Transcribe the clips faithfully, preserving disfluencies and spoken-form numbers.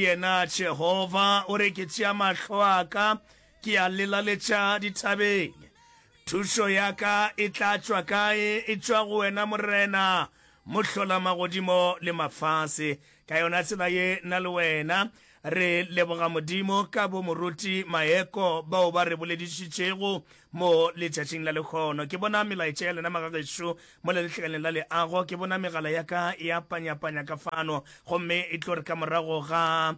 Yena Jehofa o re, Ke tšea mahlo a ka ke a lelaletša dithabeng. Thušo ya ka e tla tšwa kae? E tšwa go wena Morena, Mohlolamagodimo le mafase. Ka yona tsela ye, nna le wena re leboga Modimo ka bo Moruti Maeko bao ba re boledišitšego mo letšatšing la lehono. Ke bona melaetša ya lena magagešo mola letlakaleng la leago. Ke bona megala ya ka ya panyapanya ka fano, gomme e tlo re ka morago ga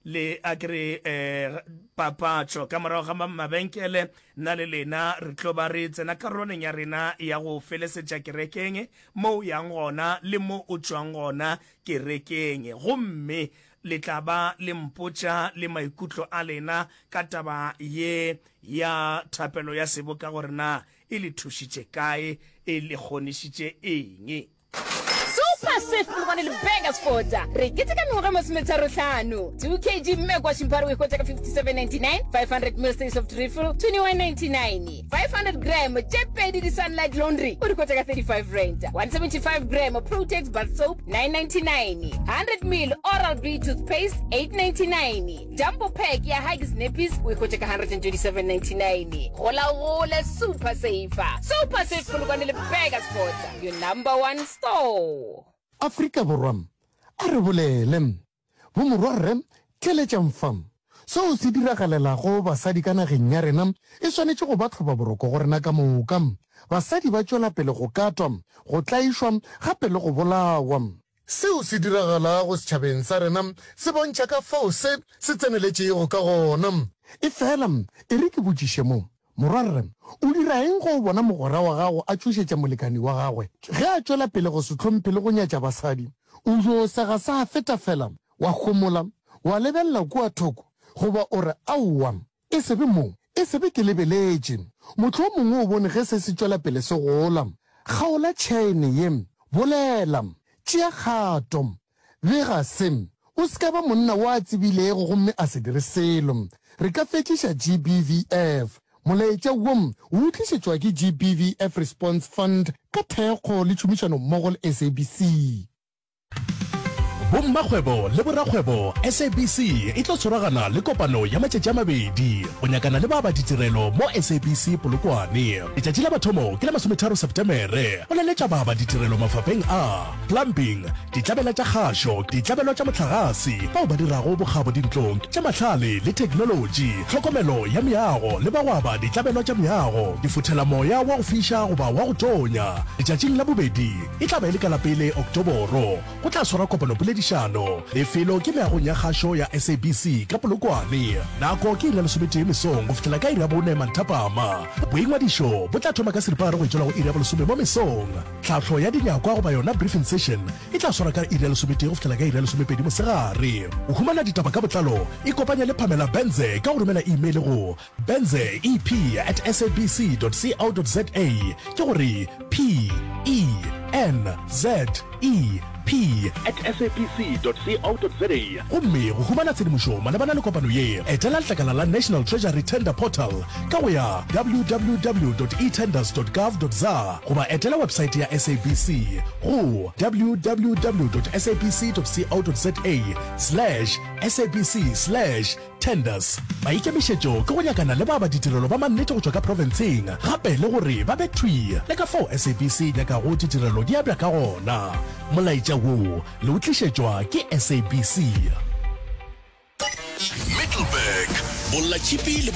le a ke re eh, papatšo, ka morago ga mabenkele, nna le lena re tlo ba re tsena karolwaneng ya rena ya go felesetša kerekeng, mo o yang gona le mo o tšwang gona kerekeng. Gomme le tla ba le mpotša le maikutlo a lena ka taba ye ya thapelo ya seboka gore na e le thušitše kae, e le kgonišitše eng. Super Safe Polokwane le Burgersfort re keteka mengwaga e masometharo-hlano. Two kg Mmekwa Shimpare o e hwetša ka fifty-seven ninety-nine, five hundred ml Stay Soft Refill twenty-one ninety-nine, five hundred gram tše pedi di Sunlight Laundry o di hwetša ka thirty-five rand, one seventy-five gram Protex Bath Soap nine ninety-nine, hundred ml Oral B Toothpaste eight ninety-nine, Jumbo Pack ya Huggies Nappies o e hwetša ka hundred and twenty-seven ninety-nine. Gola o gole Super Safe. Super Safe Polokwane le Burgersfort, your number one store. Afrika Borwa, a re bolele. Bomorwarre, theeletšang fa. Seo se diragalelago basadi ka nageng ya rena e swanetše go ba tlhobaboroko go rena ka moka. Basadi ba tšwela pele go katwa, go tlaišwa gape le go bolawa. Seo se diragalago setšhabeng sa rena se bontšha ka fao se se tseneletšego ka gona. Efela e re ke botšiše mo, Morwarre, o dira eng ge o bona mogwera wa gago a tšhošetša molekani wa gagwe? Ge a tšwela pele go se hlomphe le go nyatša basadi, o yo sega sa feta fela, wa homola, wa lebelela kua thoko, goba o re, Aowa, e se be mo, e se be ke lebeletše. Mohlomongwe o bone ge se se tšwela pele se gola. Kgaola tšhaene ye. Bolela. Tšea kgato. Bega se. O se ka ba monna wo a tsebilego gomme a se dire selo. Re ka fetšiša G B V F. Molaetša wo o tlišetšwa ke G B V F Response Fund ka thekgo le tšhomišanommogo le S A B C. Bommakgwebo le borakgwebo, S A B C e tlo tshwaragana le kopano ya matšatši a mabedi go nyakana le baabaditirelo mo S A B C Polokwane. Letšatši la mathomo ke la masometharo Setemere go laletša baabaditirelo mafapeng a plumbing, ditlabela tša kgašo, ditlabelwa tša mohlagase, bao ba dirago bokgabo dintlong tša mahlale le theknolotši, tlhokomelo ya meago le ba go aba ditlabelwa tša meago, difothelamoya wa go fiša goba wa go tonya. Letšatšing la bobedi e tla ba e le ka la pele Oktoboro go tla swarwa kopanopoledišano. Lefelo ke meagong ya kgašo ya S A B C ka Polokwane. Nako ke iri ya lesometee mesong go fihlela ka iri ya bone manthapama. Boingwadišo bo tla thoma ka seripagare go etšwela go iri ya bolesome mo mesong. Tlhahlo ya dinyakwa goba yona briefing session e tla swarwa ka iri ya lesometee go fihlela ka iri ya lesomepedi mosegare. Go humana ditaba ka botlalo, ikopanye le Pamela Benze ka go romela email go benze e p at sabc dot co dot za, ke gore P E N Z E P at sabc dot co dot za. Gomme go humana tshedimošo malebana le kopano ye, etela letlakala la National Treasury Tender Portal ka go ya www dot etenders dot gov dot za goba etela websaete ya S A B C go www dot sabc dot co dot za slash sabc slash tenders. Maikemišetšo ke go nyakana le ba ba ditirelo ba mannete go tšwa ka profenseng, gape le gore ba be thwi le ka fao S A B C e nyakago ditirelo di abja ka gona. Molaetša wo le o tlišetšwa ke S A B C. Middelburg, Bollatšhipi le